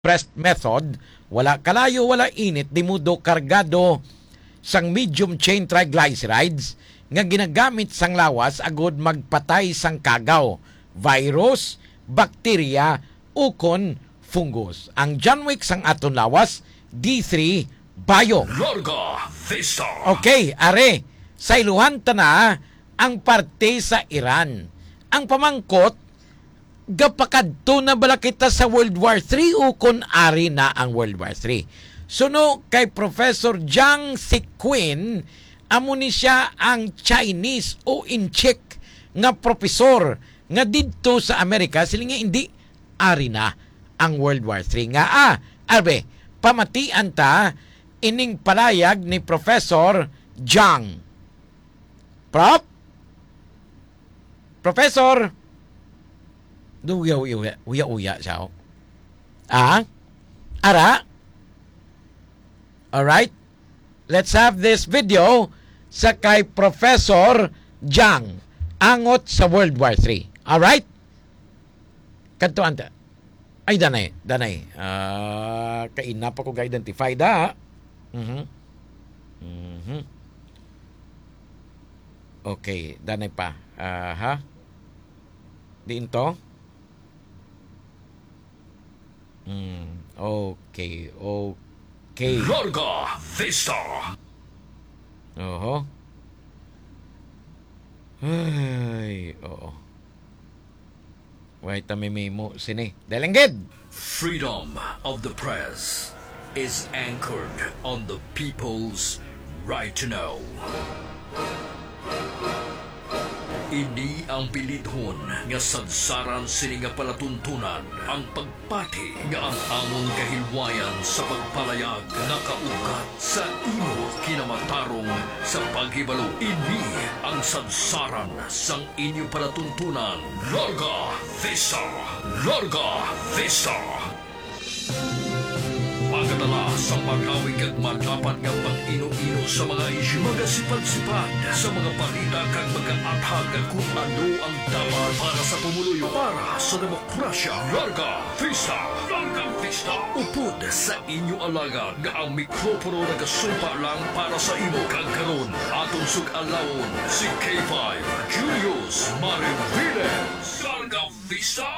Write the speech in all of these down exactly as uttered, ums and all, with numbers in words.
pressed method, wala kalayo, wala init, di mudo kargado sang medium chain triglycerides nga ginagamit sang lawas agud magpatay sang kagaw, virus, bakterya, ukon fungus. Ang John Wick sang aton lawas, D three Bio. Larga Vista. Okay, are, sayluhan ta na ang parte sa Iran. Ang pamangkot, gapakadto na bala kita sa World War Three o kon ari na ang World War Three? Suno kay Professor Jiang Siquin, amo ni siya ang Chinese o Incheck nga profesor nga didto sa Amerika, siling niya, hindi, ari na ang World War Three. Nga, ah, arbe, pamatian ta ining palayag ni Professor Jiang. Prof? Professor? Do, uya, uya, uya, uya, uya siya, oh. Ah? Ara? Alright? Let's have this video sa kay Professor Jiang, angot sa World War Three. Alright? Kadtuan ta. Ay, danay, danay. Ah, kaina pa ko ga-identify da. Mhm. Mhm. Okay, danay pa. Aha. Diin to? Hmm, okay, okay. Larga Vista. Oho. Ay, oo. Wait, ta may memo sini. Dalanggid! Freedom of the press is anchored on the people's right to know. Ini ang bilidhon nga sadsaran sini nga palatuntunan, ang pagpati nga ang amon kahilwayan sa pagpalayag nakaugat sa imo kinamatarong sa paghibalo. Ini ang sadsaran sang inyo palatuntunan. Larga Vista! Larga Vista! Magadala sa makawig kag madapat nga pag-ino-ino sa mga isyu, magasipad-sipad sa mga balita kag magaathag kon ano ang dapat para sa pumuluyo, para sa demokrasya. Larga Vista! Larga Vista! Upod sa inyo alagad nga ang mikropono nagasumpa lang para sa imo. Kag karon, aton sug-alawon si K five Julius Mariviles. Larga Vista!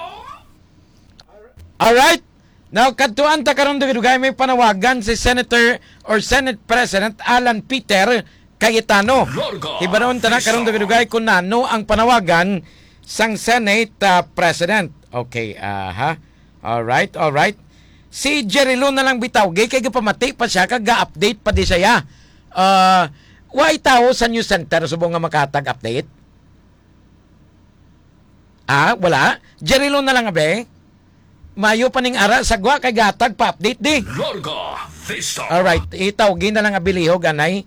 Alright. Now, kadtuan ta karon, dugay-dugay, may panawagan si Senator or Senate President Alan Peter Cayetano. Larga Hibaron ta na karon, Vista. Dugay-dugay, kung nano ang panawagan sang Senate, ah, President. Okay, aha. Alright, alright. Si Jerry Lou na lang bitaw, gay kay gapamati pa siya, kag ga-update pa di siya. Ah, way tawo sa news center subong nga makahatag update? Ah, wala? Jerry Lou na lang, abe. Mayo pa ning ara sa gwa kay gatag pa update di. Larga Vista. Alright, itawgi na lang abilihog, anay.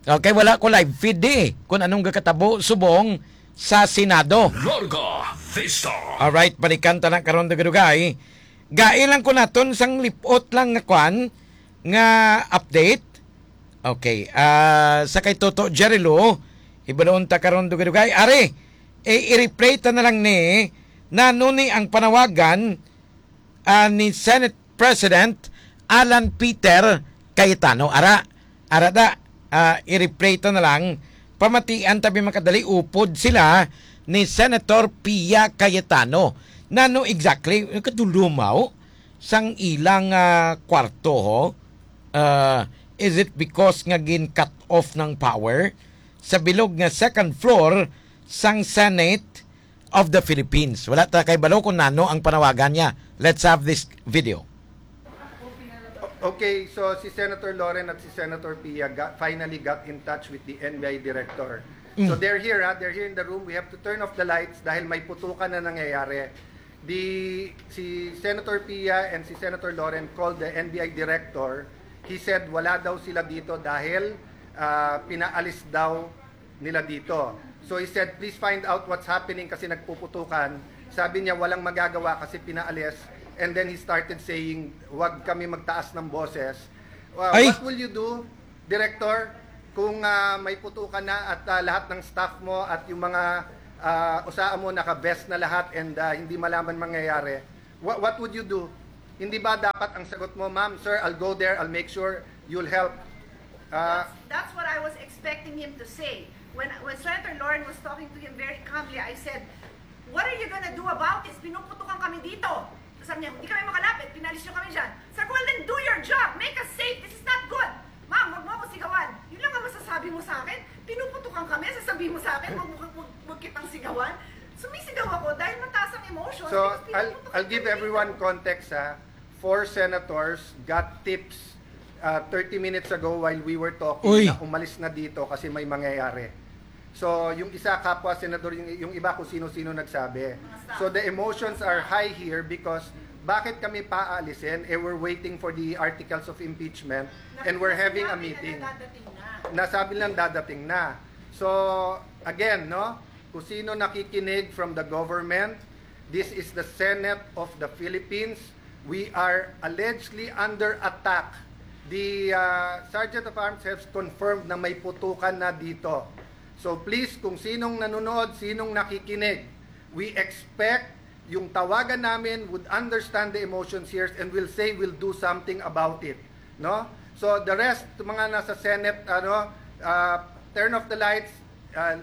Okay, wala ko live feed di. Kung anong gakatabo subong sa Senado. Larga Vista. Alright, balikan ta lang karon, dugay-dugay. Gai lang ko naton sang lipot lang nga kwan, nga update. Okay, ah, sa kay Toto Jerry Lou, hibalon ta karon, dugay-dugay. Ari, eh, i-replay ta na lang ni, nano ni ang panawagan, ah, ni Senate President Alan Peter Cayetano. Ara, ara da, ah, i-replay ta na lang. Pamatian ta bi makadali, upod sila ni Senator Pia Cayetano. Nano exactly? Kadulumaw sang ilang, ah, kwarto, ho? Ah, is it because nga gin-cut off ng power sa bilog nga second floor sang Senate of the Philippines? Wala ta kay balo kung nano ang panawagan niya. Let's have this video. O-, okay, so si Senator Loren at si Senator Pia got, finally got in touch with the N B I director. So Mm. they're here, ha? They're here in the room. We have to turn off the lights dahil may putukan na nangyayari. The, si Senator Pia and si Senator Loren called the N B I director. He said wala daw sila dito dahil, ah, pinaalis daw nila dito. So he said, "Please find out what's happening kasi nagpuputukan." Sabi niya, "Walang magagawa kasi pinaalis." And then he started saying, "Wag kami magtaas ng boses." Uh, Ay! What will you do, Director, kung, ah, may putukan na at, ah, lahat ng staff mo at yung mga, ah, usaa mo naka-vest na lahat and, ah, hindi malaman mangyayari? What, what would you do? Hindi ba dapat ang sagot mo, "Ma'am, sir, I'll go there, I'll make sure you'll help"? Ah, That's, that's what I was expecting him to say. When, when Senator Loren was talking to him very calmly, I said, "What are you gonna do about this? Pinuputukan kami dito." Sabi niya, "Hindi kami makalapit, pinalis niyo kami dyan." Sabi ko, "Well, then do your job. Make us safe. This is not good. Ma'am, wag mo ako sigawan." Yun lang ang masasabi mo sa akin. Pinuputukan kami, sasabihin mo sa akin, "Wag mo, wag, wag kitang sigawan." Sumisigaw ako dahil mataas ang emotions. So, because I'll, pinuputukan I'll give kami everyone dito. Context, ha. Four senators got tips uh, thirty minutes ago while we were talking Uy. Na umalis na dito kasi may mangyayari. So, yung isa, kapwa senador, yung, yung iba kung sino-sino nagsabi. So, the emotions are high here because bakit kami paaalisin? Eh, we're waiting for the articles of impeachment and we're having a meeting. Nasabi lang dadating na. So, again, no? Kung sino nakikinig from the government, this is the Senate of the Philippines. We are allegedly under attack. The uh, Sergeant of Arms has confirmed na may putukan na dito. So please, kung sinong nanonood, sinong nakikinig, we expect yung tawagan namin would understand the emotions here and will say we'll do something about it. No? So the rest, mga nasa Senate, ano, uh, turn off the lights, uh,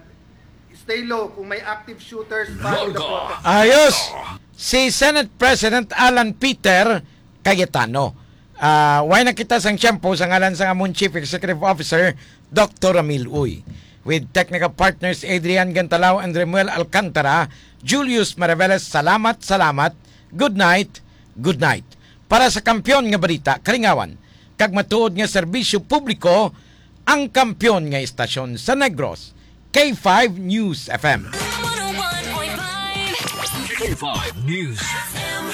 stay low. Kung may active shooters, follow the protocol. Ayos! Si Senate President Alan Peter Cayetano. Ah, way na kita sang tiyempo sa ngalan sang amon Chief Executive Officer, Doctor Ramil Uy. With technical partners Adrian Gantalao and Remuel Alcantara, Julius Maraveles, salamat, salamat. Good night, good night. Para sa kampiyon nga balita, kalingawan, kag matuod nga serbisyo publiko, ang kampiyon nga istasyon sa Negros, K five News F M. One oh one point five K five News. F M.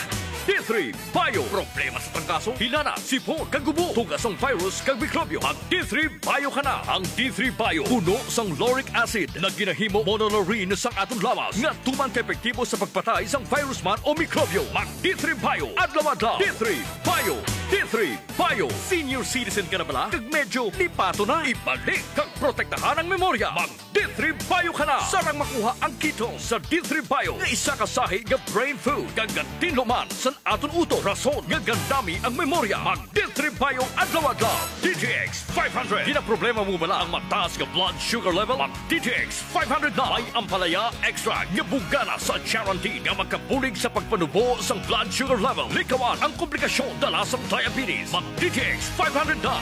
D three Bio. Problema sa trangkaso, hilana, sipon, kag gubo, tuga sang virus kag mikrobyo. Mag D three Bio ka na. Ang D three Bio puno sang lauric acid nga ginahimo monolarine sang aton lawas nga tuman ka epektibo sa pagpatay sang virus man o mikrobyo. Mag D three Bio adlaw-adlaw. D three Bio. D three Bio. Senior citizen ka na bala? Kag medyo lipato na? Ibalik kag protektahan ang memorya. Mag D three Bio ka na. Sarang makuha ang ketone sa D three Bio nga isa ka sahi nga brain food kag gatinlo man san aton utok, rason nga gandami ang memorya. Mag D three Bio adlaw-adlaw. D T X five hundred. Ginaproblema mo bala ang mataas nga blood sugar level? Mag D T X five hundred na. May ampalaya extract nga bugana sa charantin nga makabulig sa pagpanubo sang blood sugar level. Likawan ang komplikasyon dala sang diabetes. Mag D T X five hundred na.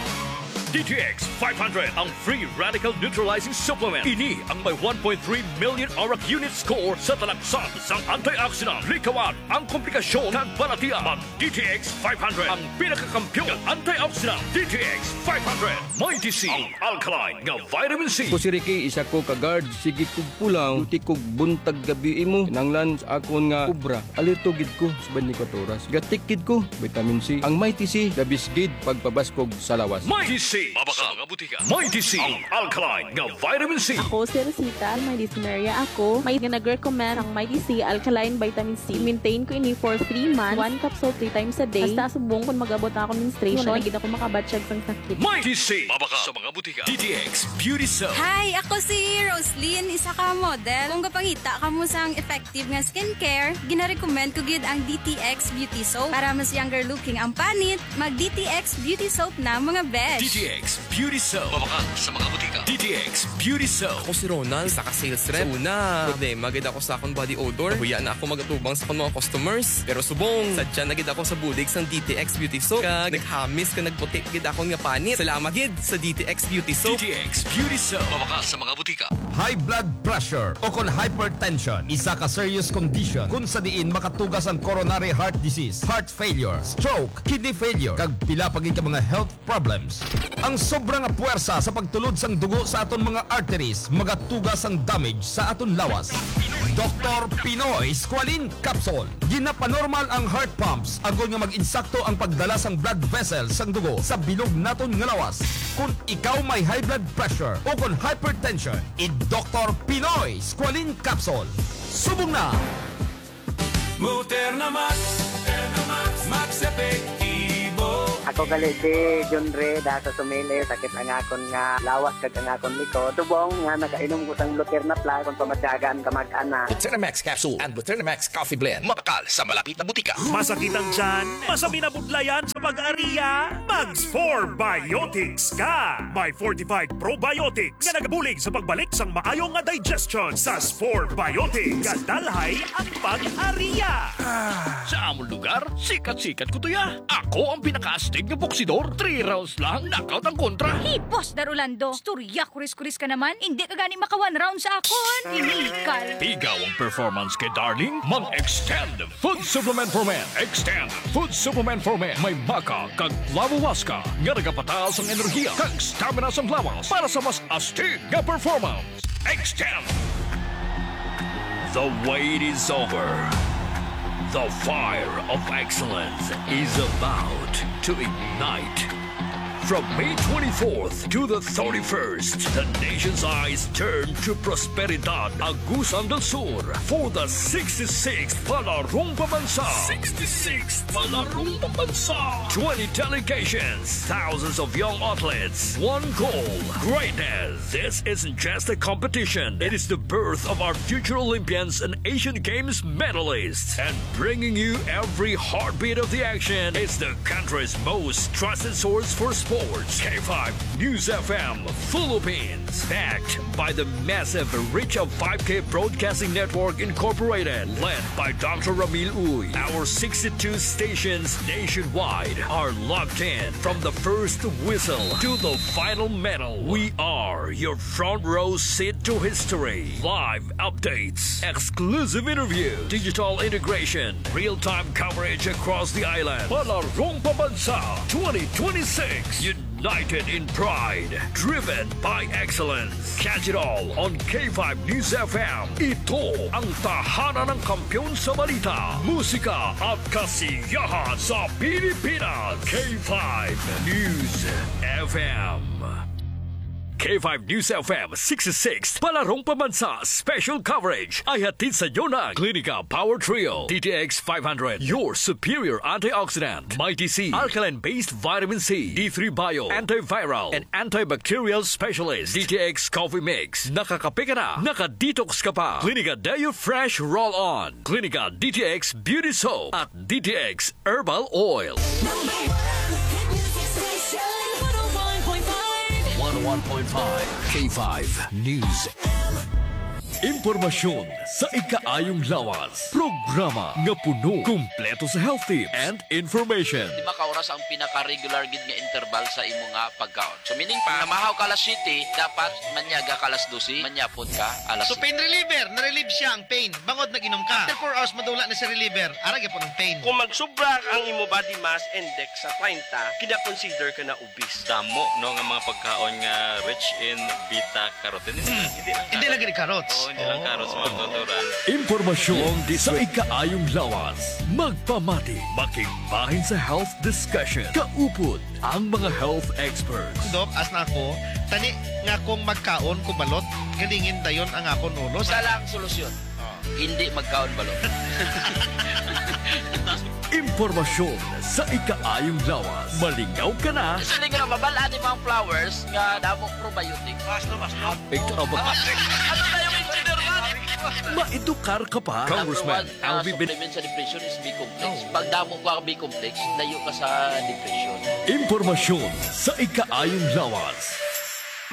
D T X five hundred, ang free radical neutralizing supplement. Ini ang may one point three million ORAC unit score sa talaksan sang antioxidant. Likawan ang komplikasyon kag balatian. Mag D T X five hundred, ang pinakakampiyon nga antioxidant. D T X five hundred, Mighty C, ang alkaline nga vitamin C. Ako si Ricky, isa ko ka guard. Sige kog pulaw, duty kog buntag gabi imo. Kinahanglan sa akon nga obra, alerto gid ko sa twenty-four oras. Gatik gid ko, vitamin C. Ang Mighty C, the best gid pagpabaskog sa lawas. Mighty C. Mabakal nga butika. Mighty C, ang alkaline nga vitamin C. Ako si Rosita, may dysmenorrhea ako. May nga nag-recommend ang Mighty C Alkaline Vitamin C. Maintain ko ini for three months. One capsule three times a day. Hasta subong kung mag-abot na ako menstruation, wala na gid ako makabatyag sang sakit. Mighty C. Mabakal sa mga butika. D T X Beauty Soap. Hi, ako si Roslyn, isa ka model. Kung gapangita kamo sang effective nga skincare, ginarecommend ko gid ang D T X Beauty Soap. Para mas younger looking ang panit, mag D T X Beauty Soap na, mga besh. D T X Beauty Soap. Mabakal sa mga butika. D T X Beauty Soap. Ako si Ronald, isa ka sales rep. Sa una, problema gid ako sa akong body odor. Nahuya na ako magatubang sa akong mga customers. Pero subong, sadya na gid ako sa bulig sang D T X Beauty Soap. Kag naghamis kag nagputi gid akon nga panit. Salamat gid sa D T X Beauty Soap. D T X Beauty Soap. Mabakal sa mga butika. High blood pressure o kon hypertension, isa ka serious condition kung sa diin makatugas ang coronary heart disease, heart failure, stroke, kidney failure, kag pila pa gid ka mga health problems. Ang sobra nga puwersa sa pagtulod sang dugo sa aton mga arteries magatugas sang damage sa aton lawas. Doktor Pinoy Squalene Capsule. Ginapanormal ang heart pumps agod nga mag-insakto ang pagdala sang blood vessels sang dugo sa bilog naton nga lawas. Kung ikaw may high blood pressure o kon hypertension, i-Doktor Pinoy Squalene Capsule. Subong na! Muterna Max. Muterna Max. Max Epektibo. Ako Bali si John Ray, da sa Sumili, sakit ang akon nga lawas kag ang akon likod. Tubong nga nakainom ko sang Luterna Plus, kung pamatyagan ka mag-ana. Luterna Max capsule and Luterna Max coffee blend. Mabakal sa malapit na butika. Masakit ang tiyan? Masabi na budlayan sa pag-ariya? Mag four Biotics ka! May fortified probiotics nga nagabulig sa pagbalik sang maayo nga digestion. Sa four Biotics, kadalhay ang pag-ariya. Sa among lugar, sikat-sikat ko tuya. Ako ang pinakaastig nga boksidor. Three rounds lang, knockout ang kontra. Hipos, Dar Orlando. Istorya, kuris-kuris ka naman. Hindi ka gani maka one round sa akon. Inikal. Pigaw ang performance kay Darling. Mag-Extend Food Supplement for Men. Extend Food Supplement for Men. May maca kag flavowaska nga nagapataas ang enerhiya kag stamina sang lawas para sa mas astig nga performance. Extend. The wait is over. The fire of excellence is about to ignite. From May twenty-fourth to the thirty-first, the nation's eyes turn to Prosperidad, Agusan del Sur, for the sixty-sixth Palarong Pambansa. Sixty-sixth Palarong Pambansa. Twenty delegations, thousands of young athletes, one goal, greatness. This isn't just a competition. It is the birth of our future Olympians and Asian Games medalists. And bringing you every heartbeat of the action is the country's most trusted source for sports, K five News F M Philippines. Backed by the massive reach of five K Broadcasting Network Incorporated, led by Doctor Ramil Uy. Our sixty-two stations nationwide are locked in. From the first whistle to the final medal, we are your front row seat to history. Live updates, exclusive interview, digital integration, real-time coverage across the island. Palarong Pambansa twenty twenty-six. United in pride, driven by excellence. Catch it all on K five News F M. Ito ang tahanan ng kampiyon sa balita, musika at kasiyahan sa Pilipinas. K five News F M. K five News F M sixty-six, Palarong Pambansa Special Coverage ay hatid sa inyo ng Clinica Power Trio, D T X five hundred, your superior antioxidant, Mighty C, alkaline-based vitamin C, D three Bio, antiviral and antibacterial specialist, D T X Coffee Mix. Nakakape ka na, naka-detox ka pa. Clinica Deo Fresh Roll-On, Clinica D T X Beauty Soap, at D T X Herbal Oil. Number one hit music station, one oh one point five. One oh one point five K five News. Impormasyon sa ikaayong lawas. Programa nga puno, kumpleto sa health tips and information. Lima ka oras ang pinaka-regular gid nga interval sa imo nga pagkaon. So, meaning pa, namahaw ka alas siyete, dapat manyaga ka alas dose, manyapon ka alas So, siyete. Pain reliever, na-relieve siya ang pain. Bangod nag-inom ka. After four hours, madula na si reliever. Ara gyapon ang pain. Kung magsubra ang imo body mass index sa treinta, kina-consider ka na obese. Damo, no, nga mga pagkaon nga rich in beta carotene. Hindi lang Hindi carrot. Lagi ni carrots. Oo, hindi lang carrots, mga tuturan. Impormasyon sa ikaayong lawas. Magpamati, makigbahin sa health discussion. Kaupod ang mga health experts. Dok, as na ako, tani nga kung magkaon ko balot, galingin dayon ang akon ulo. Isa lang solusyon. Ah. Hindi magkaon balot. Impormasyon sa ikaayong lawas. Malingaw ka na. Actually, nga mabal-an ni mga flowers nga damo probiotics. Mas no, mas no. Big trouble. Ano na yung engineer man? Maedukar ka pa. Number Congressman one, uh, Alvin Bin- supplement sa depression is B-complex. Oh. Pag damo ka B-complex, layo ka sa depression. Impormasyon sa ikaayong lawas.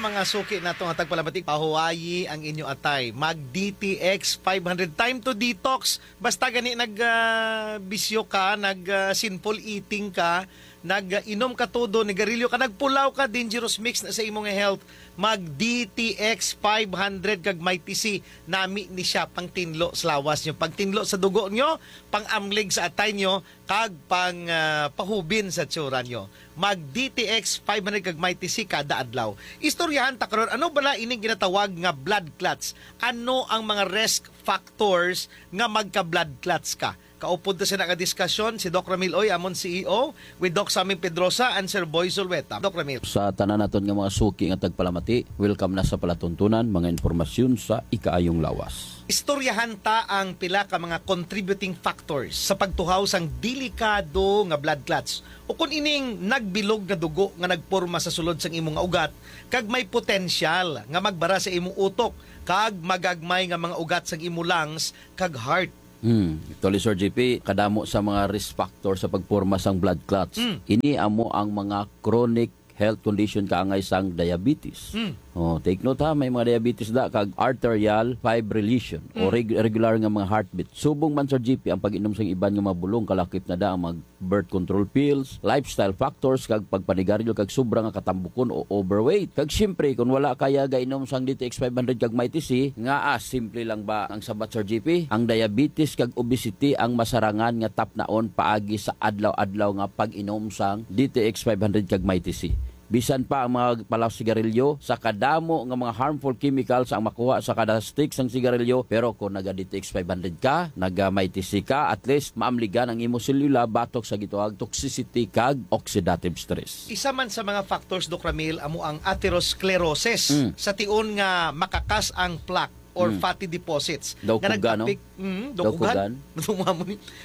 Mga suki nato nga tagpalamatik, pahuwayi ang inyo atay. Mag D T X five hundred. Time to detox. Basta gani nag, ah, bisyo ka, nag, ah, sinful eating ka, nag, ah, inom ka todo, nigarilyo ka, nagpulaw ka, dangerous mix na sa imong health. Mag D T X five hundred kag Mighty C. Nami ni siya pang tinlo sa lawas nyo, pang tinlo sa dugo nyo, pang amlig sa atay nyo, kag pang, ah, pahubin sa tsura nyo. Mag D T X five hundred kag Mighty C kada adlaw. Istoryahan ta karon, ano bala ining ginatawag nga blood clots? Ano ang mga risk factors nga magka-blood clots ka? Kaupod ta sina nga diskasyon si Doc Ramil Oy, amon C E O, with Doc Sammy Pedrosa and Sir Boy Zulueta. Doc Ramil. Sa tanan naton nga mga suki nga tagpalamati, welcome na sa palatuntunan, mga impormasyon sa ikaayong lawas. Istoryahan ta ang pila ka mga contributing factors sa pagtuhaw sang delikado nga blood clots, o kun ining nagbilog nga dugo nga nagporma sa sulod sang imo nga ugat kag may potensyal nga magbara sa imo utok kag magagmay nga mga ugat sang imo lungs kag heart. Hmm. Actually, Sir G P, kadamo sa mga risk factor sa pagporma sang blood clots. Hmm. Ini amo ang mga chronic health condition kaangay sang diabetes. Hmm. Oh, take note ha, may mga diabetes da kag arterial fibrillation o Hmm. reg-, regular nga mga heartbeat. Subong man, Sir G P, ang pag-inom sang iban nga mga bulong, kalakip na da ang mag birth control pills, lifestyle factors, kag pagpanigarilyo kag sobra nga katambukon o overweight. Kag siyempre, kung wala kaya gainom sang D T X five hundred kag Mighty C, nga, ah, simple lang ba ang sabat, Sir G P? Ang diabetes kag obesity ang masarangan nga tapnaon paagi sa adlaw-adlaw nga pag-inom sang D T X five hundred kag Mighty C. Bisan pa ang mga palaw sigarilyo, sa kadamo nga mga harmful chemicals ang makuha sa kada stick sang sigarilyo, pero kung naga D T X five hundred ka, naga Mighty C ka, at least maamligan ang imo selula batok sa gitawag toxicity kag oxidative stress. Isa man sa mga factors, Doc Ramil, amo ang atherosclerosis. Mm. Sa tion nga makakas ang plaque or Mm. fatty deposits Daw nga kuga, no? nagtapik, mm, daw Daw kugan. kugan.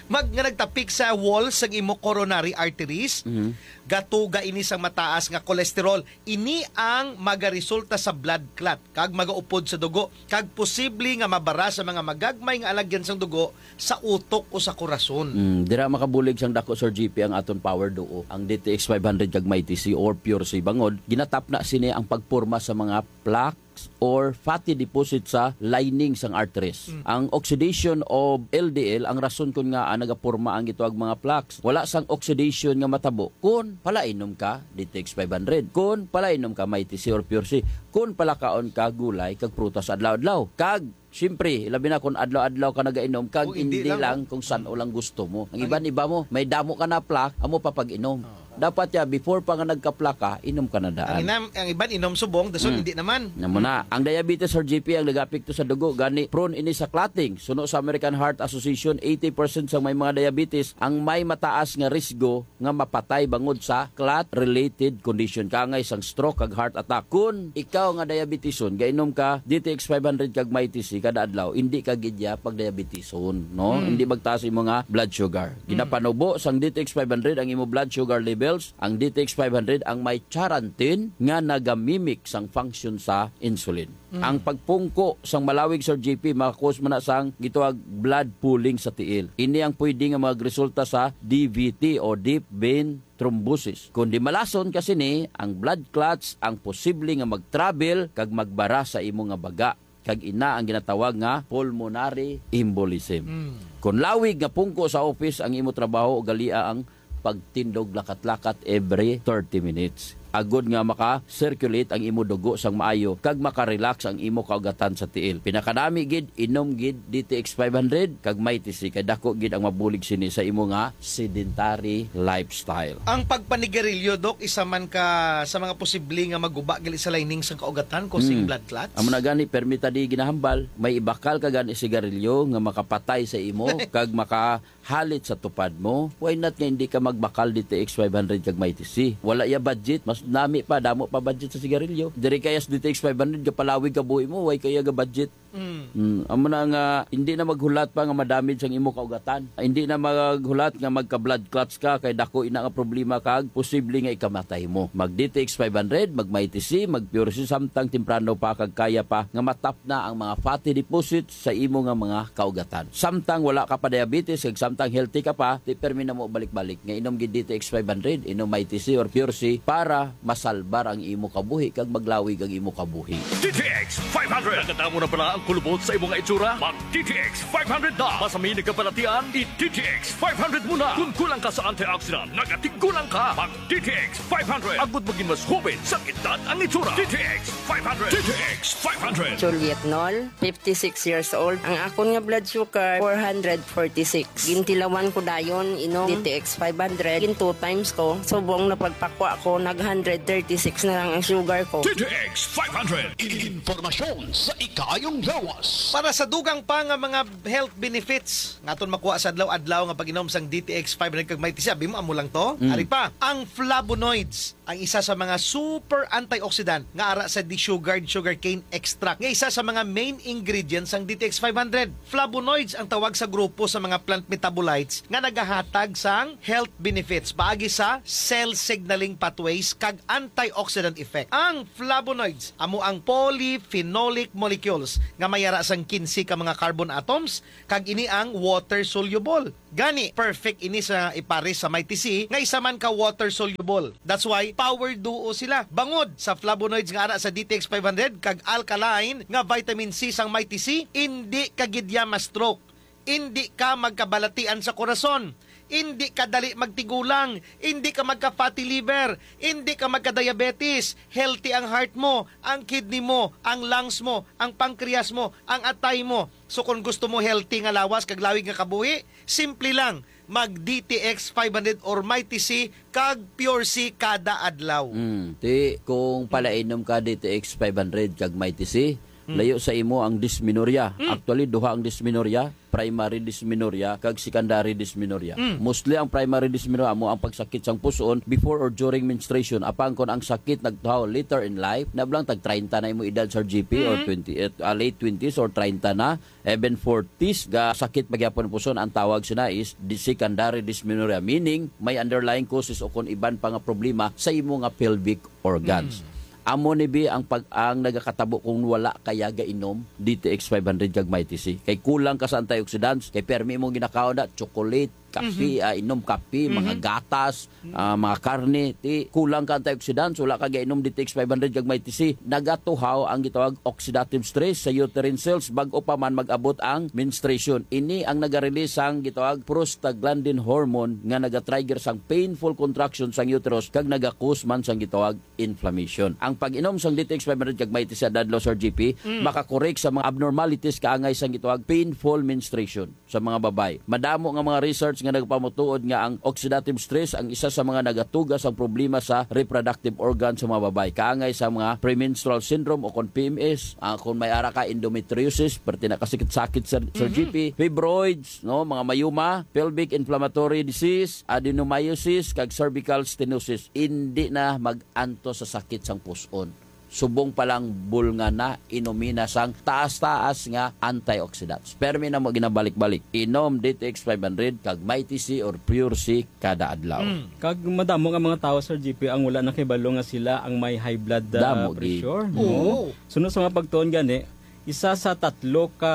Mag-, nga nagtapik sa wall sang imo coronary arteries, Mhm. gatuga ini sang mataas nga cholesterol. Ini ang magaresulta sa blood clot kag magaupod sa dugo kag posible nga mabara sa mga magagmay nga alagyan sang dugo sa utok o sa korason. Mm, dira makabulig sang dako, Sir G P, ang aton power duo, ang D T X five hundred kag Mighty C or Pure C bangod ginatapna sini ang pagporma sa mga plaques or fatty deposit sa lining sang arteries. Mm. Ang oxidation of L D L ang rason kon ngaa nagaporma ang gitawag mga plaques. Wala sang oxidation nga matabo kon palainom ka D T X five hundred, kon palainom ka Mighty C or Pure C, kon palakaon ka gulay kag prutas adlaw-adlaw. Kag siyempre, labi na kung adlaw-adlaw ka nagainom, kag O, hindi hindi lang. lang kung san-o lang gusto mo. Ang Ang iban iba mo, may damo ka na plaque, amo pa pag-inom. Ah. Dapat ya, before pa nga nagkaplaka, inom ka na Ang daan. inam-, ang iban inom subong, dason Hmm. hindi naman. Namo na. Ang diabetes, Sir G P, ang nagapekto sa dugo, gani prone ini sa clotting. Suno sa American Heart Association, eighty percent sa may mga diabetes ang may mataas nga risgo nga mapatay bangod sa clot-related condition, kaangay sang stroke kag heart attack. Kun ikaw nga diabetison, gainom ka D T X five hundred kag Mighty C kada adlaw, hindi ka gid ya pagdiabetison, no? Mm. Hindi magtaas imo nga blood sugar. Mm. Ginapanubo sang D T X five hundred ang imo blood sugar levels. Ang D T X five hundred ang may charantin nga nagamimik sang function sa insulin. Mm. Ang pagpungko sang malawig, Sir G P, maka-cause man na sang gitawag blood pooling sa tiil. Ini ang pwede nga magresulta sa D V T o deep vein thrombosis. Kon di malason ka sini, ang blood clots ang posible nga mag-travel kag magbara sa imo nga baga, kag ina ang ginatawag nga pulmonary embolism. Mm. Kon lawig nga pungko sa office ang imo trabaho, ugalia ang pagtindog lakat-lakat every thirty minutes, agod nga maka-circulate ang imo dugo sang maayo kag maka-relax ang imo kaugatan sa tiil. Pinakanami gid, inom gid D T X five hundred kag Mighty C, kay dako gid ang mabulig sini sa imo nga sedentary lifestyle. Ang pagpanigarilyo, Doc, isa man ka sa mga posible nga maguba gali sa lining sang kaugatan, causing Hmm. blood clots? Amo na gani, permi ta di ginahambal, may ibakal ka gani sigarilyo nga makapatay sa imo kag maka halit sa tupad mo, why not nga hindi ka magbakal D T X five hundred kag Mighty C? Wala ya budget, mas nami pa, damo pa budget sa sigarilyo. Diri kaya sa D T X five hundred, gapalawig ka buhi mo, why kaya ga budget? Mm. Mm, amo na nga, hindi na maghulat pa nga madamage ang imo kaugatan. Hindi na maghulat nga magka-blood clots ka, kay dako ina nga problema kag posible nga ikamatay mo. Mag D T X five hundred, mag Mighty C, mag Pure C, samtang temprano pa kag kaya pa nga matap na ang mga fatty deposits sa imo nga mga kaugatan. Samtang wala ka pa diabetes kag samtang healthy ka pa, di permi na mo balik-balik nga inom gid D T X five hundred, inom Mighty C or Pure C para masalbar ang imo kabuhi kag maglawig ang imo kabuhi. D T X five hundred. Nakadamo na bala ang kulubot sa imo nga itsura? Mag D T X five hundred na. Masami nagkabalatian, i-D T X five hundred mo na. Kung kulang ka sa antioxidant, nagatigulang ka. Mag D T X five hundred. Agud maging mas hubit sa edad ang itsura. D T X five hundred. D T X five hundred. Juliet Nol, fifty-six years old. Ang akon nga blood sugar, four hundred forty-six. Gintilawan ko dayon, inom D T X five hundred. Gin two times ko. Subong na pagpakwa ko, nag hundred thirty-six na lang ang sugar ko. D T X five hundred. Impormasyon sa ikaayong Lawas. Para sa dugang pa nga mga health benefits nga aton makuha sa adlaw-adlaw nga pag-inom sang D T X five hundred kag Mighty C, abi mo, amo lang to. Mm. Ari pa, ang flavonoids, ang isa sa mga super antioxidant nga ara sa desugared sugarcane extract, nga isa sa mga main ingredients sang D T X five hundred. Flavonoids ang tawag sa grupo sa mga plant metabolites nga nagahatag sang health benefits paagi sa cell signaling pathways kag antioxidant effect. Ang flavonoids amo ang polyphenolic molecules nga may ara sang kinse ka mga carbon atoms, kag ini ang water soluble. Gani, perfect ini sa ipares sa Mighty C nga isa man ka water soluble. That's why power duo sila. Bangod sa flavonoids nga ara sa D T X five hundred kag alkaline nga vitamin C sang Mighty C, indi ka gid ya ma-stroke. Indi ka magkabalatian sa korason. Indi ka dali magtigulang. Indi ka magka-fatty liver. Indi ka magka-diabetes. Healthy ang heart mo, ang kidney mo, ang lungs mo, ang pancreas mo, ang atay mo. So kung gusto mo healthy nga lawas kag lawig nga kabuhi, simple lang. Mag D T X five hundred or Mighty C kag Pure C kada adlaw. Mm. Ti, kung palainom ka D T X five hundred kag Mighty C, Mm. layo sa imo ang dysmenorrhea. Mm. Actually, duha ang dysmenorrhea, primary dysmenorrhea kag secondary dysmenorrhea. Mm. Mostly ang primary dysmenorrhea amo ang pagsakit sang puson before or during menstruation. Apang kon ang sakit nagtuhaw later in life, na lang tag treinta na imo edad, Sir G P, or Mm. twenty, ah, late twenties or treinta na, even forties, ga sakit pa gyapon ang puson, ang tawag sina is di-, secondary dysmenorrhea, meaning may underlying causes o kon iban pa nga problema sa imo nga pelvic organs. Mm. Amo ni bi ang pag-, ang nagakatabo kung wala kaya gainom D T X five hundred kag Mighty C. Kay kulang ka sa antioxidants, kay permi mo ginakaon na chocolate, kape, Mhm. ah, inom kape, mga Mhm. gatas, Mhm. ah, mga karne, ti kulang ka antioxidants, wala ka gainom D T X five hundred kag Mighty C. Nagatuhaw ang gitawag oxidative stress sa uterine cells bag-o pa man mag-abot ang menstruation. Ini ang nagarelease sang gitawag prostaglandin hormone nga nagatrigger sang painful contraction sang uterus kag nagakus man sang gitawag inflammation. Ang pag-inom sang D T X five hundred kag Mighty C sa adlaw, Sir G P, Mm. makakorek sa mga abnormalities kaangay sang gitawag painful menstruation sa mga babay. Madamo nga mga research nga nagpamutuod nga ang oxidative stress ang isa sa mga nagatuga sang problema sa reproductive organ sa mga babay, kaangay sa mga premenstrual syndrome o kon P M S, ah, kung may ara ka endometriosis, perti na kasakit-sakit, Sir, Sir Mhm. G P, fibroids, no, mga myoma, pelvic inflammatory disease, adenomyosis, kag cervical stenosis. Indi na mag-antos sa sakit sang pus-on. Subong pa lang bulngan na, inumi na sang taas-taas nga antioxidants. Permi na mo ginabalik-balik. Inom D T X five hundred kag Mighty C or Pure C kada adlaw. Mm. Kag madamo nga mga tawo, Sir G P, ang wala nakibalo nga sila ang may high blood, ah, Damo, gi. pressure, no? Oo. Suno sa mga pagtuon gani, isa sa tatlo ka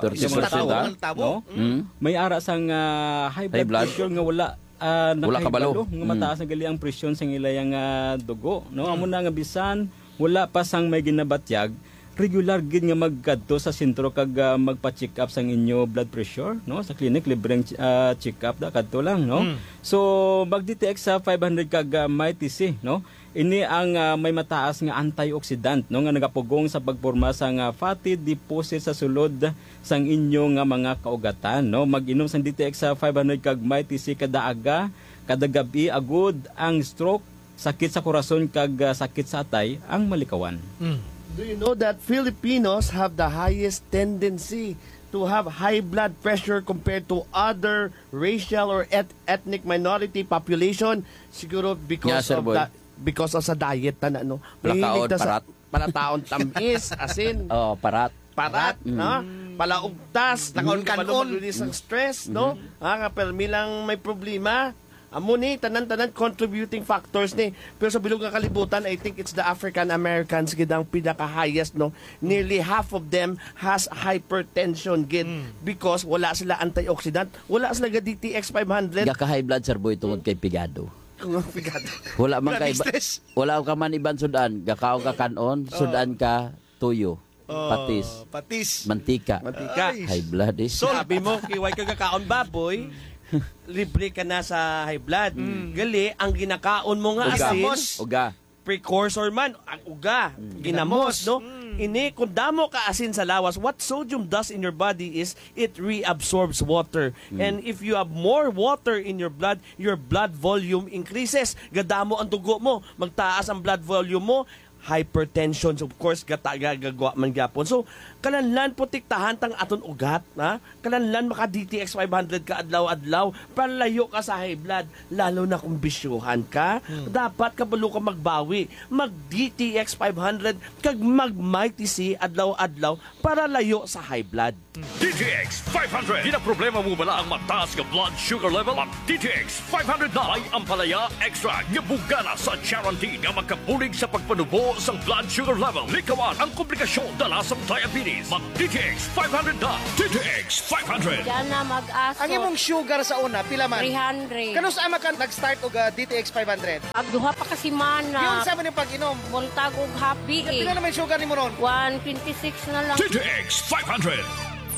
Thirty percent. Isa sa mga tawo, tawo, no? Mm. May ara sang, ah, high High blood blood. pressure nga wala, ah, Wala kabalo. nakahibalo nga Mm. mataas na gali ang presyon sa ila yang, ah, dugo, no? Mm. Amo na nga bisan wala pa sang may ginabatyag, regular gid nga magkadto sa sentro kag, ah, magpa-check up sang inyo blood pressure, no? Sa clinic, libreng, ah, check up da kadto lang, no? Mm. So, mag D T X sa five hundred kag, ah, Mighty C, no? Ini ang, ah, may mataas nga antioxidant, no, nga nagapugong sa pagporma sang, ah, fatty deposit sa sulod sang inyo nga mga kaugatan, no? Mag-inom sang D T X sa five hundred kag Mighty C kada aga, kada gab-i, agud ang stroke, sakit sa korason kag, ah, sakit sa atay ang malikawan. Mm. Do you know that Filipinos have the highest tendency to have high blood pressure compared to other racial or et-, ethnic minority population? Siguro because Yeah, Sir of Boy. the, because of sa diet na, no? Mahilig Lakaon, ta sa parat. Palataon tamis, asin. Oh, parat. Parat, Mm. no? Palaugtas, Lakaon nakaon ka kanon. mag-release ang stress, no? Mhm. Ah, nga permi lang may problema. Amo ni, tanan-tanan contributing factors ni. Pero sa bilog nga kalibutan, I think it's the African Americans gid ang pinaka-highest, no? Nearly half of them has hypertension gid Mm. because wala sila antioxidant, wala sila ga D T X five hundred. Gaka-high blood, Sir Boy, tungod kay pigado. Kung ang pigado. Wala man Grabe kay ba-, stress. wala ka man iban sudan, gakaon ka kanon, Oh. sudan ka tuyo. Oh, Patis. patis. Mantika. Mantika. Ay. High blood eh. So, Sabi mo, kay way ka gakaon baboy, libre ka na sa high blood. Mm. Gali, ang ginakaon mo nga Uga. asin, Ginamos. Uga. precursor man, ang uga, Mm. ginamos, Ginamos. no? Mm. Ini, kung damo ka asin sa lawas, what sodium does in your body is it reabsorbs water. Mm. And if you have more water in your blood, your blood volume increases. Gadamo ang dugo mo, magtaas ang blood volume mo, hypertension, of course, gata-, gagagwa man gyapon. So, kalanlan protektahan tang aton ugat, ha? Kalanlan maka D T X five hundred ka adlaw-adlaw, palayo ka sa high blood, lalo na kung bisyuhan ka. Hmm. Dapat kabalo ka magbawi, mag D T X five hundred, kag mag Mighty C adlaw-adlaw para layo sa high blood. D T X five hundred. Ginaproblema mo bala ang mataas nga blood sugar level? Mag D T X five hundred na. May ampalaya extract nga bugana sa charantin nga makabulig sa pagpanubo sang blood sugar level. Likawan ang komplikasyon dala sang diabetes. Mag D T X five hundred na. D T X five hundred. Diyan na mag-aso. Ang imong sugar sa una, pila man? Three hundred. Kanus-a man ka nag-start og, ah, D T X five hundred? Ag duha pa ka semana. Yun sa man yung pag-inom. Buntag og happy eh. Pila naman yung sugar nimo ron? One twenty-six na lang. D T X five hundred.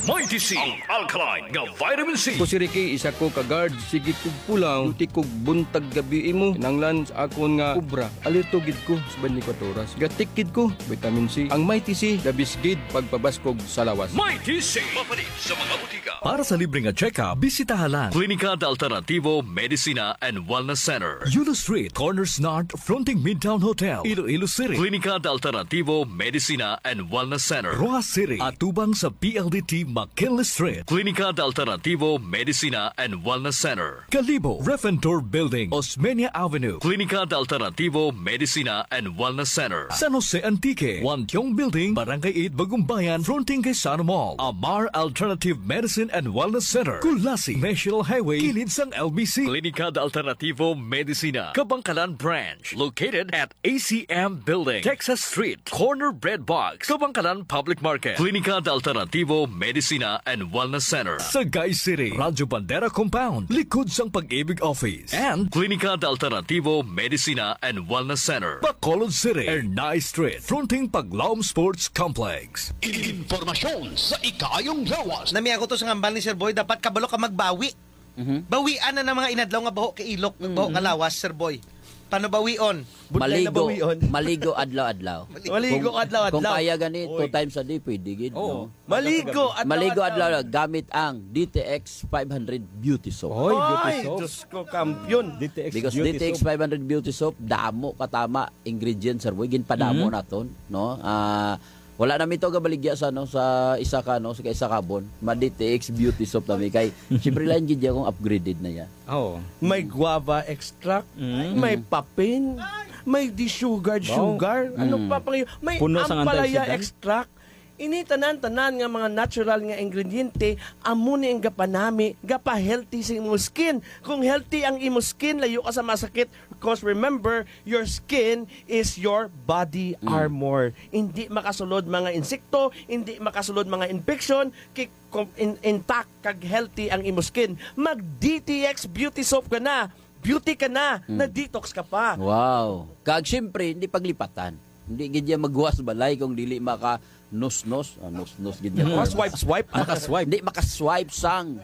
Mighty C, ang alkaline nga vitamin C. Ko si Ricky, isa ko ka guard. Sige kog pulaw, duty kog buntag gabi imo. Kinanglan sa akon nga obra. Alerto gid ko sa twenty-four oras. Gatik gid ko, vitamin C. Ang Mighty C, the best gid pagpabaskog sa lawas. Mighty C. Mapalit sa mga butika. Para sa libre nga check-up, bisitaha lang Klinika de Alternativo Medicina and Wellness Center. Yulo Street, Corners North, fronting Midtown Hotel, Iloilo City. Klinika de Alternativo Medicina and Wellness Center, Roxas City, atubang sa P L D T McKinley Street. Klinika de Alternativo Medicina and Wellness Center, Kalibo, Refentor Building, Osmeña Avenue. Klinika de Alternativo Medicina and Wellness Center, San Jose Antique, Wantiong Building, Barangay eight, Bagumbayan, fronting kay Sano Mall. Amar Alternative Medicine and Wellness Center, Culasi, National Highway, kilid sang L B C. Klinika de Alternativo Medicina, Kabangkalan Branch, located at A C M Building, Texas Street, corner Bread Box, Kabangkalan Public Market. Klinika de Alternativo Medicina and Wellness Center, Sagay City, Radyo Bandera Compound, likod sang Pag-ibig Office. And Klinika de Alternativo Medicina and Wellness Center, Bacolod City, Ernai Street, fronting Paglaom Sports Complex. Informasyon sa ikaayong lawas. Nami ako to sa ngambal ni Sir Boy, dapat kabalo ka magbawi. Mhm. Bawian na ng mga inadlaw nga baho ka ilok, baho ka lawas, Sir Boy. Paano bawion? Budlay na Maligo, bawion. Maligo adlaw-adlaw. Maligo Kung, adlaw-adlaw. Kung kaya gani, Oy. two times a day, pwede gid, Oo. no? Maligo adlaw-adlaw. Maligo adlaw-adlaw gamit ang D T X five hundred Beauty Soap. Oy, Beauty Ay, Soap. Diyos ko, kampiyon. D T X Because Beauty D T X Soap. five hundred Beauty Soap, damo katama ingredients, Sir Boy, ginpadamo Mhm. naton, no? Ah, wala na mi to gabaligya sa, no, sa isa ka, no, sa isa kabon. Ma D T X Beauty Soap na mi kay, siyempre, lain gid ya kung upgraded na ya. Oo. May guava extract, Mm. may papin, may desugared Wow. sugar, ano Mm. pa pang may Puno sang ampalaya antioxidant. extract. Ini tanan-tanan nga mga natural nga ingrediente, amo ni ang gapanami, gapa-healthy sa imong skin. Kung healthy ang imong skin, layo ka sa masakit. Because remember, your skin is your body Mm. armor. Hindi makasulod mga insekto, hindi makasulod mga infection, ki-, kom-, in-, intact kag healthy ang imong skin. Mag D T X Beauty Soap ka na. Beauty ka na. Mm. Na-detox ka pa. Wow. Kag siyempre, hindi paglipatan. Hindi gid yan maghuwas balay kung dili maka nus-nus. Ah, nus-nus gid niya. Mm. Makaswipe-swipe. Makaswipe. Hindi makaswipe sang.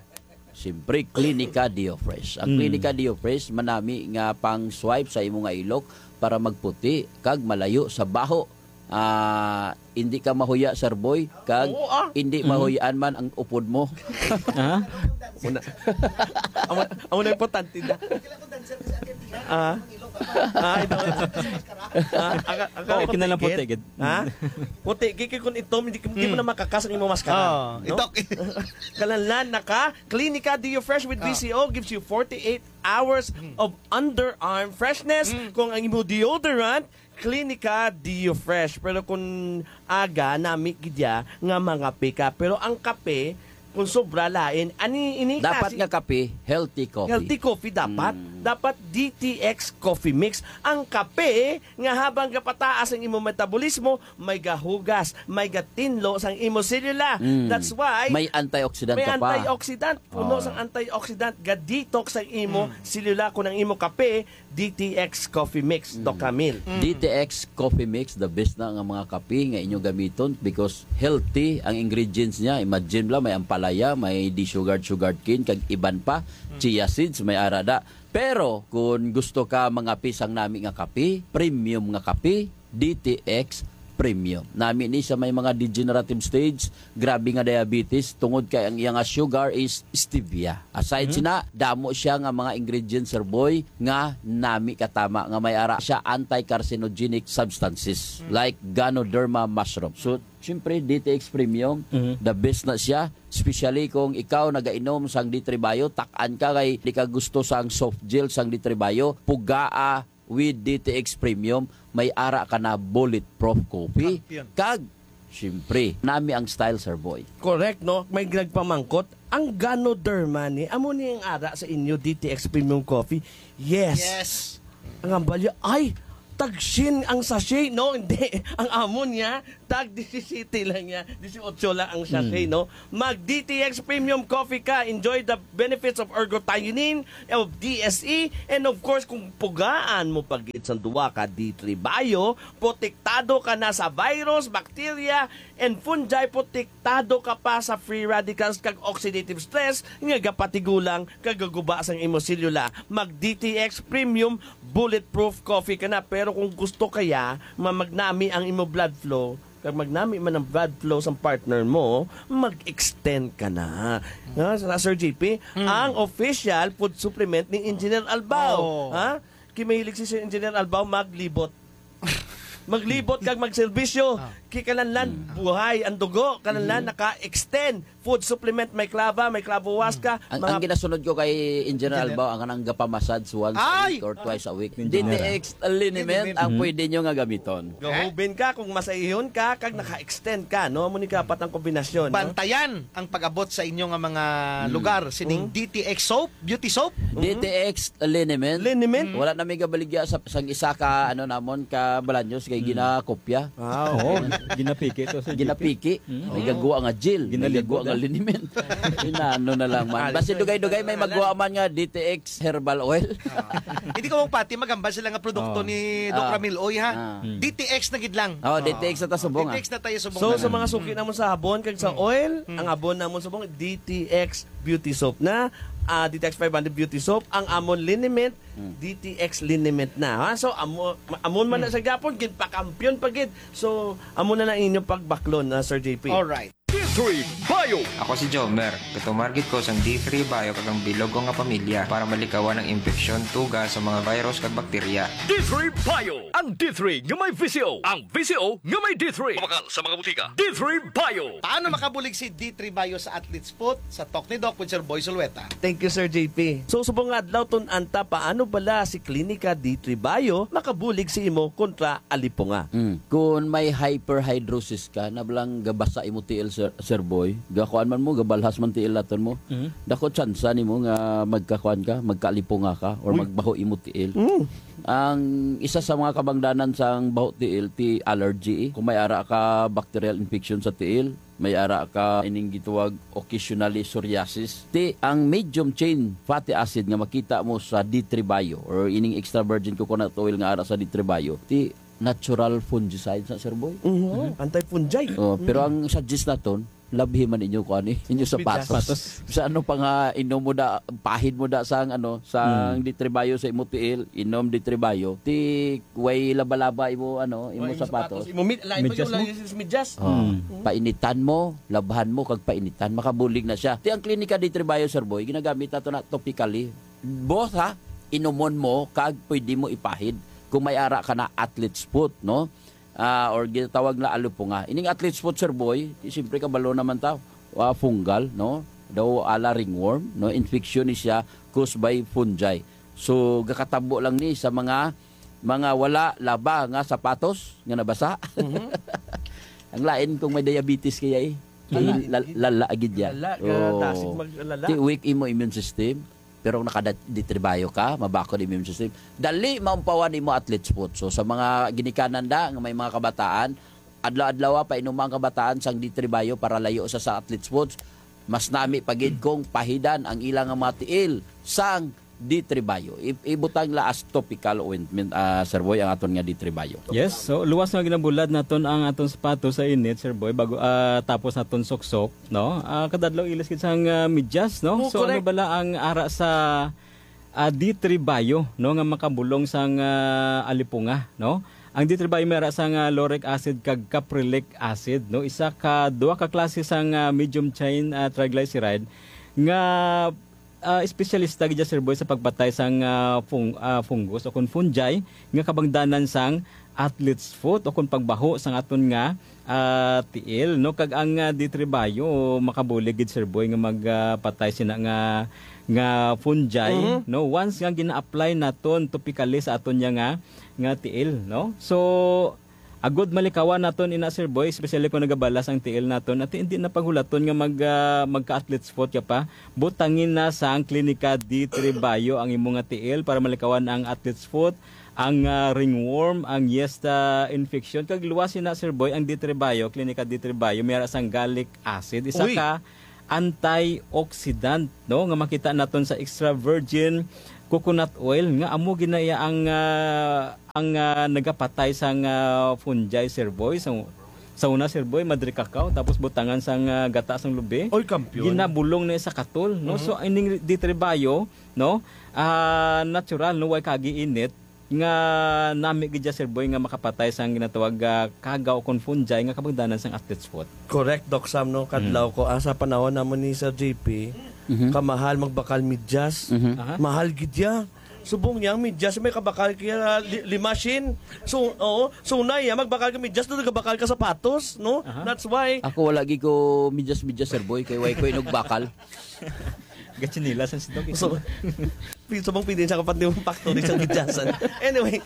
Siyempre, Klinika Dio Fresh. Ang Mm. Klinika Dio Fresh, manami nga pang swipe sa imo nga ilok para magputi kag malayo sa baho. Ah, hindi ka mahuya, Sir Boy, kag Oo, ah. hindi Mm. mahuyan man ang upod mo. Ha? Amo na. Amo, amo na importante na. Ah. Ah, ito. Ah, aka-, aka-, Oo, kinalang puti, gid. Ha? Puti, kay, kay kung itom, hindi, hindi mo Mm. na makakas ang imong maskara. Oo, No? itok. Kalanlan na ka, Klinika Dio Fresh with Ah. V C O gives you forty-eight hours Mm. of underarm freshness. Mm. Kung ang imo deodorant, Klinika Dio Fresh. Pero kung aga, nami gid ya nga mangape ka. Pero ang kape, kung sobra lain, ani, ini Dapat kasi nga kape, healthy coffee. Healthy coffee dapat. Mm. Dapat D T X Coffee Mix. Ang kape nga habang gapataas ang imong metabolismo, may gahugas, may gatinlo sang imong selula. Mm. That's why May antioxidant may ka pa. antioxidant. Puno Oh. sang antioxidant, ga-detox ang imo Mm. selula. Kung ang imo kape, D T X Coffee Mix, Mm. Doc Camille. Mm. D T X Coffee Mix, the best na nga mga kape nga inyo gamiton because healthy ang ingredients niya. Imagine lang, may ampalaya, may desugared sugarcane, kag iban pa, Mm. chia seeds, may arada. Pero kung gusto ka mga pisang nami nga kape, premium nga kape, D T X Premium. Nami ni sa may mga degenerative stage, grabe nga diabetes, tungod kay ang iya nga sugar is stevia. Aside Mhm. sina, damo siya nga mga ingredients, Sir Boy, nga nami katama nga may ara siya anti-carcinogenic substances, Mm. like Ganoderma mushroom. So, siyempre, D T X Premium, Mhm. the best na siya, especially kung ikaw nagainom sang D three Bio, tak-an ka kay di ka gusto sang soft gel sang D three Bio, pugaa with D T X Premium, may ara ka na bulletproof coffee. Champion. Kag, siyempre, nami ang style, Sir Boy. Correct, no? May nagpamangkot, ang Ganoderma ni, amo ni ang ara sa inyo, D T X Premium Coffee? Yes. Yes. Ang ambalya, ay, tagsin ang sachet, no? Hindi. Ang amo niya, tag disisete lang niya. Disiotso lang ang sachet, Hmm. no? Mag D T X Premium Coffee ka. Enjoy the benefits of ergothioneine, of D S E, and of course, kung pugaan mo pagid sang duwa ka D three Bio, protektado ka na sa virus, bacteria, and fungi, protektado ka pa sa free radicals kag oxidative stress nga gapatigulang kag gaguba sang imo selula. Mag D T X Premium Bulletproof Coffee ka na. Pero kung gusto kaya ma-, magnami ang imo blood flow, kag magnami man ang blood flow sang partner mo, mag-extend ka na. Ha, sa Sir J P, Mm. ang official food supplement ni Engineer Albao. Oh. Ha? Kay mahilig si Sir Engineer Albao maglibot. Maglibot kag magserbisyo. Ah. Kay kalanlan, Mm. buhay ang dugo. Kalanlan, Mm. naka-extend. Food supplement, may klava, may klavo huasca, Ang, mga ang ginasunod ko kay Engineer Engineer. Albao, ang kanang gapamassage once a Ay! week or twice a week. Engineer. D T X Liniment Liniment. ang Mhm. pwede nyo nga gamiton. Gahubin ka kung masaihon ka, kag naka-extend ka, no? Amo ni kapat ang kombinasyon, no? Bantayan ang pag-abot sa inyo nga mga Mm. lugar sining Mm. D T X soap, beauty soap. D T X Liniment. Liniment? Mm. Wala na may gabaligya sa, sang isa ka, ano, namon, ka Balaños kay Mm. ginakopya. Ah, Oo, okay. ginapiki to sa Ginapiki. Mm. May Oo. gagwa nga gel, may Ginalibog, gagwa nga ah. liniment. Inano na lang man. Ah, Basi dito, dugay-dugay may dito na magwa lang. man nga D T X herbal oil. Ah. Hindi ko mong pati, magambal sila nga produkto Oh. ni Doc Ah. Ramil Oy, ha? Ah. Hmm. D T X na gid lang. Oh, Ah. D T X na ta subong, D T X ah. na tayo subong So, na sa lang. mga suki namon sa habon kag sa Hmm. oil, Hmm. ang habon namon subong, D T X Beauty Soap na. Ah, D T X five hundred Beauty Soap, ang amon liniment, Hmm. D T X liniment na, ha? So, amo, amon man na Hmm. sa gapon, ginpakampiyon pa gid. So, amo na lang inyo pagbaklon, ah, Sir J P. Alright. D three Bio. Ako si Jomer. Gatumar gid ko sang D three Bio kag ang bilog ko nga pamilya para malikawan ang impeksyon tuga sa mga virus kag bakterya. D three Bio. Ang D three nga may V C O. Ang V C O nga may D three. Mabakal sa mga butika. D three Bio. Paano makabulig si D three Bio sa Athlete's Foot? Sa Talk ni Doc with Sir Boy Zulueta. Thank you, Sir J P. So, subong nga adlaw, tun-an ta paano bala si Klinika D three Bio makabulig sa imo kontra alipunga. Mm. Kung may hyperhidrosis ka, na balang gabasa imo tiil, Sir, Sir Boy, gakuan man mo, gabalhas man tiil naton mo, Mm. dako tsansa nimo nga magkakuan ka, magkaalipunga ka, or Uy. magbaho imo tiil. Mm. Ang isa sa mga kabangdanan sang baho tiil, ti allergy, eh. Kung may ara ka bacterial infection sa tiil, may ara ka ining gitawag occasionally psoriasis. Ti ang medium chain fatty acid nga makita mo sa D three Bio or ining extra virgin coconut oil nga ara sa D three Bio, ti natural fungicide sa, Sir Boy. Mhm. Mhm. Anti-fungi. Oh, pero Mm. ang suggest naton, labhi man inyo kuan eh, inyo Medyas. sapatos. Sapatos. Sa ano pa nga inom mo da, pahid mo da sang ano, sang Mm. D three Bio sa imo tiil, inom D three Bio. Ti way laba-laba imo ano, imo Way sapatos. sapatos. Imo mid-, lain pa Medyas yung mo? lain yung medyas. Oh, Mm. painitan mo, labhan mo kag painitan, makabulig na siya. Ti ang Klinika D three Bio, Sir Boy, ginagamit nato na topically. Both ha, inumon mo kag pwede mo ipahid kung may ara ka na athlete's foot, no? Ah, or ginatawag na alipunga. Ining athlete's foot, Sir Boy, ti siyempre kabalo naman ta, ah, fungal, no? Daw ala ringworm, no? Infection ni siya caused by fungi. So, gakatabo lang ni sa mga, mga wala laba nga sapatos nga nabasa. Mhm. Ang lain kung may diabetes kaya eh. Lala, Mm. lal-, lala gid ya. Lala, Oh. kadasig maglala. Ti weak imo immune system, pero nakada-, D three Bio ka, mabakod immune system. Dali maumpawan imo athlete's foot. So, sa mga ginikanan da, nga may mga kabataan, adlaw-adlaw pa inuma ang kabataan sang D three Bio para layo sa, sa athlete's foot. Mas nami pa gid kung pahidan ang ilang mga tiil sang D three Bio. I-, ibutang la as topical ointment, ah, Sir Boy, ang aton nga D three Bio. Yes, so luwas nga ginabulad naton ang aton sapatos sa init, Sir Boy, bago, ah, tapos naton suksok, no? Ah, kadadlaw ilis gid sang, ah, medyas, no? Oh, So, ano correct. bala ang ara sa, ah, D three Bio, no, nga makabulong sang, ah, alipunga, no? Ang D three Bio may ara sang, ah, lauric acid kag caprylic acid, no? Isa ka, duha ka klase sang, ah, medium chain, ah, triglyceride nga, ah, espesyalista gid siya, Sir Boy, sa pagpatay sang, ah, fung-, ah, fungus o kon fungi nga kabangdanan sang athlete's foot o kon pagbaho sang aton nga, ah, tiil, no? Kag ang, ah, D three Bio makabulig gid, Sir Boy, nga mag, ah, patay sina nga, nga fungi, Mhm. no? Once nga gina-apply naton topically sa aton niya nga, nga tiil, no? So, agod malikawan naton ina, Sir Boy, especially kung nagabalas ang tiil naton, at hindi na paghulaton nga mag, ah, magka-athlete's foot ka pa, butangin na sang Klinika D three Bio ang imo nga tiil para malikawan ang athlete's foot, ang, ah, ringworm, ang yeast, ah, infection. Kag luwas na, Sir Boy, ang D three Bio, Klinika D three Bio, may ara sang gallic acid. Isa Uy. ka antioxidant, no, nga makita naton sa extra virgin coconut oil nga amo gid na iya ang, ah, ang, ah, nagapatay sang, ah, fungi, Sir Boy. Sa, sa una, Sir Boy, madre cacao, tapos butangan sang, ah, gata sang lubi. Oy, kampiyon. Ginabulong na sa katol, no? Mhm. So, ining D three Bio, no? Ah, natural, no? Way kagiinit nga nami gid siya, Sir Boy, nga makapatay sang ginatawag, ah, kagaw kon fungi nga kabangdanan sang athlete's foot. Correct, Doc Sam, no? Kadlaw Mm. ko, ah, sa panahon namon ni Sir J P, Mhm. kamahal magbakal medyas. Mhm. Aha. Mahal gid ya. Subong niya ang medyas, may kabakal kaya li-, lima shin. So, oo, so na iya, magbakal ka medyas, doon nagabakal ka sapatos, no? Aha. That's why. Ako wala gid ko medyas-medyas, Sir Boy, kay way ko inugbakal. Gatsinilas ang sidog, eh. So, so mong pwede siya kapag di mong factory sa medyas. Anyway,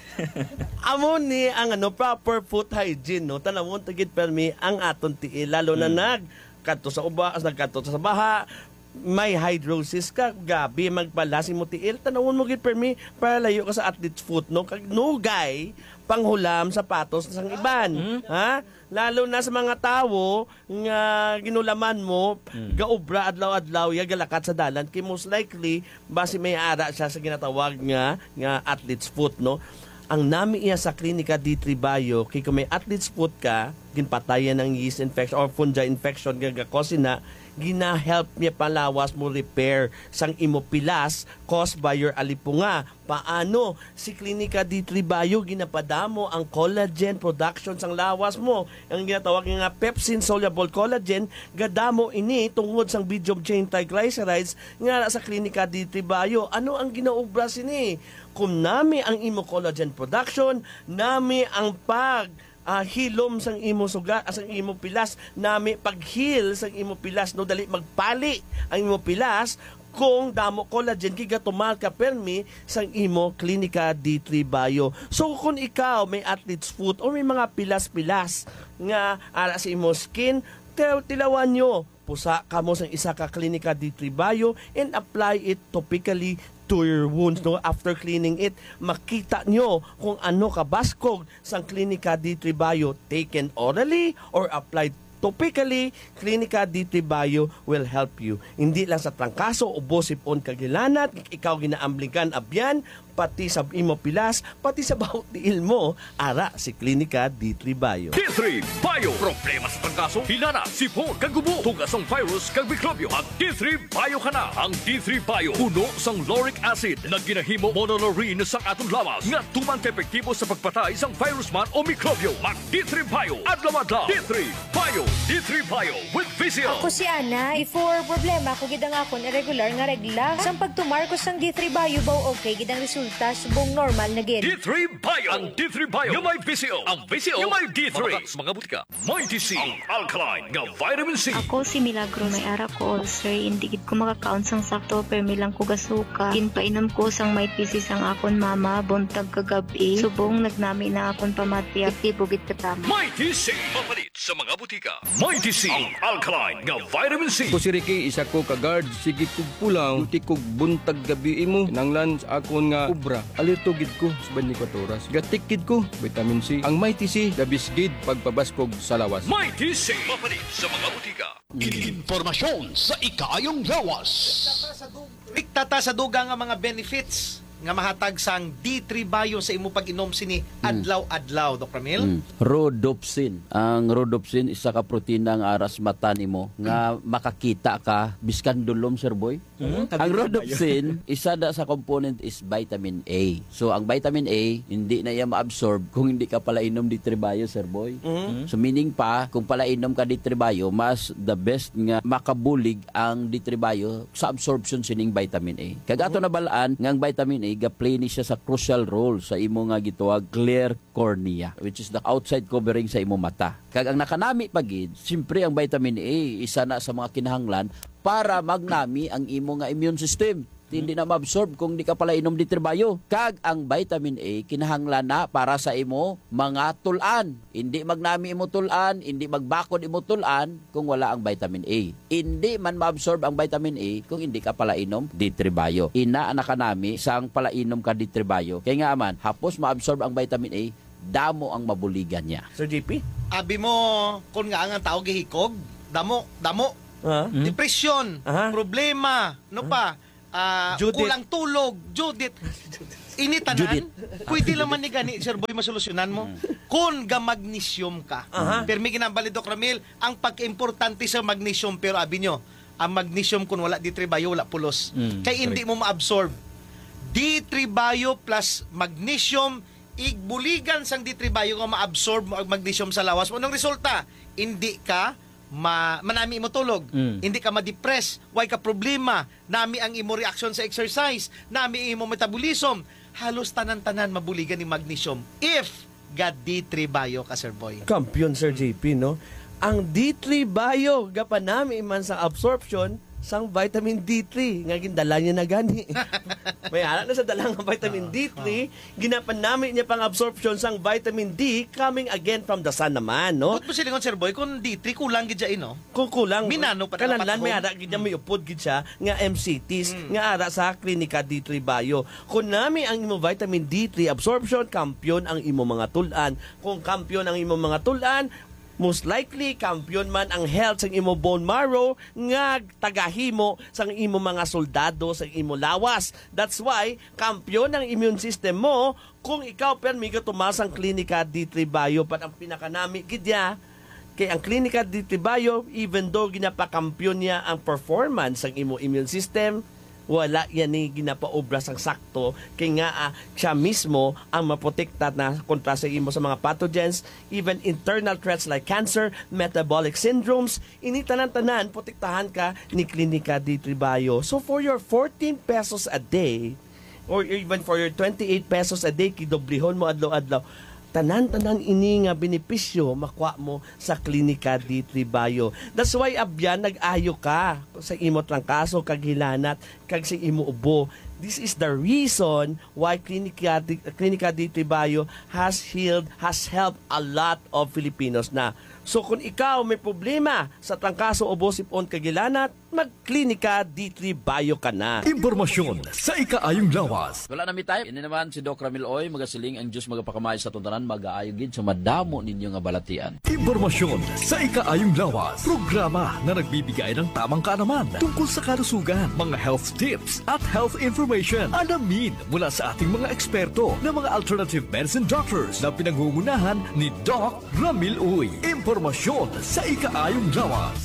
amo ni ang, ano, proper foot hygiene, no? Tanawon ta gid permi ang aton tiil, lalo na Mm. nag kadto sa uba, nagkadto sa baha, may hydrosis ka, gabi magpalas imo tiil, tanawon mo gid permi para layo ka sa athlete's foot, no? Kag nugay panghulam sapatos sang iban, Mm. ha? Lalo na sa mga tawo nga ginulaman mo, Mm. gaobra adlaw-adlaw, ya galakat sa dalan, kay most likely, basi may ara siya sa ginatawag nga, nga athlete's foot, no? Ang nami iya sa Klinika D three Bio, kay kung may athlete's foot ka, ginpatayan ang yeast infection or fungi infection nga gakos ina, gina-help niya palawas mo repair sang imo pilas caused by your alipunga. Paano? Si Klinika D three Bio ginapadamo ang collagen production sang lawas mo. Ang ginatawag nga pepsin-soluble collagen, gadamo ini tungod sang medium chain triglycerides nga ara sa Klinika D three Bio. Ano ang ginaobra sini? Kung nami ang imo collagen production, nami ang pag, ah, hilom sang imo suga, sang imo pilas, nami pag-heal sang imo pilas, no, dali magpali ang imo pilas kung damo collagen kay gatumal ka permi sang imo Klinika D three Bio. So kung ikaw may athlete's foot or may mga pilas-pilas nga ara sa imo skin, til-, tilawan nyo. Pusa kamo sang isa ka Klinika D three Bio and apply it topically to your wounds, no? After cleaning it, makita nyo kung ano kabaskog sang Klinika D three Bio, taken orally or applied topically. Klinika D three Bio will help you. Hindi lang sa trangkaso, ubo, sipon, kag hilanat, ikaw ginaambligan, abyan, pati sa imo pilas, pati sa bahot tiil mo, ara si Klinika D three Bio. D three Bio. Problema sa trangkaso, hilanat, sipon, kag ubo, tuga sang virus, kag mikrobyo. Mag D three Bio ka na. Ang D three Bio puno sang lauric acid nga ginahimo monolaurin sang aton lawas nga tuman ka epektibo sa pagpatay sang virus man o mikrobyo. Mag D three Bio adlaw-adlaw. D three Bio. D three Bio with V C L. Ako si Ana. Before, problema ko gid ang akon irregular nga regla. Sang pagtumar ko sang D three Bio, baw okay gid ang resulta, subong normal na gid. D three Bio. Ang D three Bio nga may V C O. Ang V C O nga may D three. Mabakal sa mga butika. Mighty C, ang alkaline nga vitamin C. Ako si Milagros. May ara ko ulcer, hindi gid ko makakaon sang sakto, permi lang ko gasuka. Ginpainom ko sang Mighty C sang akon mama, buntag kag gab-i. Subong nagnami na akon pamati, aktibo gid katama. Mighty C, mapalit sa mga butika. Mighty C, ang alkaline nga vitamin C. Ako si Ricky, isa ko ka guard. Sige kog pulaw, duty kog buntag gab-i imo. Kinahanglan sa akon nga obra, alerto gid ko sa twenty-four oras. Gatik gid ko, vitamin C. Ang Mighty C, the best gid pagpabaskog sa lawas. Mighty C, mapalit sa mga butika. Impormasyon sa ikaayong lawas. Iktata sa dugang nga mga benefits nga mahatag sang D three Bio sa imo pag-inom sini adlaw-adlaw, Doc Ramil? Mm. Rhodopsin. Ang rhodopsin, isa ka protina nga ara sa mata nimo nga makakita ka biskan dulom, Sir Boy. Mm, Ang tabi ng rhodopsin, isa na sa component is vitamin A. So, ang vitamin A, hindi na iya ma-absorb kung hindi ka pala inom D three Bio, Sir Boy. Mm. So, meaning pa, kung pala inom ka D three Bio, mas the best nga makabulig ang D three Bio sa absorption sining vitamin A. Kag ato nabalaan nga ang vitamin A, ga-play ni siya sa crucial role sa imo nga gitawag clear cornea, which is the outside covering sa imo mata. Kag ang nakanami pa gid, siyempre ang vitamin A, isa na sa mga kinahanglan para magnami ang imo nga immune system. Hindi na maabsorb kung di ka pala inom D three Bio. Kag ang vitamin A, kinahanglan na para sa imo mga tul-an. Hindi magnami imo tul-an, hindi magbakod imo tul-an kung wala ang vitamin A. Hindi man maabsorb ang vitamin A kung hindi ka pala inom D three Bio. Ina ang nakanami sang pala inom ka D three Bio. Kay nga man, hapos maabsorb ang vitamin A, damo ang mabuligan niya. Sir J P? Abi mo, kung nga ang tao gihikog, damo, damo. Ha? Hmm? Depresyon, Aha. problema, no pa, ah, Judith. kulang tulog, Judith. Ini tanan, Judith. pwede lang man ni gani, Sir Boy, masolusyonan mo. Hmm. Kung ga magnesium ka. Aha. Pero may ginambal ni Doc Ramil, ang pagka-importante sa magnesium, pero abi nyo, ang magnesium kung wala D three Bio, wala pulos. Mm, Kay hindi correct. mo ma-absorb. D three Bio plus magnesium, igbuligan sang D three Bio nga ma-absorb mo ang magnesium sa lawas mo. Anong resulta? Hindi ka ma manami imo tulog. Mm. Hindi ka ma-depress. Way ka problema. Nami ang imo reaction sa exercise. Nami imo metabolism. Halos tanan-tanan mabuligan ni magnesium if ga D three Bio ka, Sir Boy. Kampiyon, Sir J P, no? Ang D three Bio, gapanami man sa absorption sang vitamin D three nga gindala niya na gani. May ara na sa dala nga vitamin Ah, D three, ginapanami niya pang absorption sang vitamin D coming again from the sun naman, no? Ba't mo silingon, Sir Boy, kung D three kulang gid siya, eh, no? Kung kulang, Minano pa na kanalan dapat may kung ara gid niya, may upod gid siya nga M C Ts, Mm. nga ara sa Klinika D three Bio. Kung nami ang imo vitamin D three absorption, kampiyon ang imo mga tul-an. Kung kampiyon ang imo mga tul-an, most likely, kampiyon man ang health sang imo bone marrow nga tagahimo sang imo mga soldado sang imo lawas. That's why, kampiyon ang immune system mo kung ikaw permi gatuman sang Klinika D three Bio. But ang pinakanami gid niya, kay ang Klinika D three Bio, even though ginapakampiyon niya ang performance sang imo immune system, wala yan ni ginapaobra sang sakto, kay nga, ah, siya mismo ang maprotekta na kontra sa imo sa mga pathogens, even internal threats like cancer, metabolic syndromes, ini tanan-tanan protektahan ka ni Klinika D three Bio. So for your fourteen pesos a day, or even for your twenty-eight pesos a day, kidoblihon mo adlaw-adlaw, tanan-tanan ini nga benepisyo makuha mo sa Klinika D three Bio. That's why, abyan, nag-ayo ka sa imo trangkaso kag hilanat kag sa imo ubo. This is the reason why Klinika D-, Klinika D three Bio has healed, has helped a lot of Filipinos na. So, kung ikaw may problema sa trangkaso, ubo, sipon, kag hilanat, mag-Klinika D three Bio ka na. Impormasyon sa ikaayong lawas. Wala na mi time. Ini naman si Doc Ramil Oy, magasiling, ang Diyos magapakamay sa atong tanan, magaayo gid sa madamo ninyo nga balatian. Impormasyon sa ikaayong lawas. Programa na nagbibigay ng tamang kaalaman tungkol sa kalusugan, mga health tips at health information. Alamin mula sa ating mga eksperto na mga alternative medicine doctors na pinangungunahan ni Doc Ramil Uy. Impormasyon sa ikaayong lawas.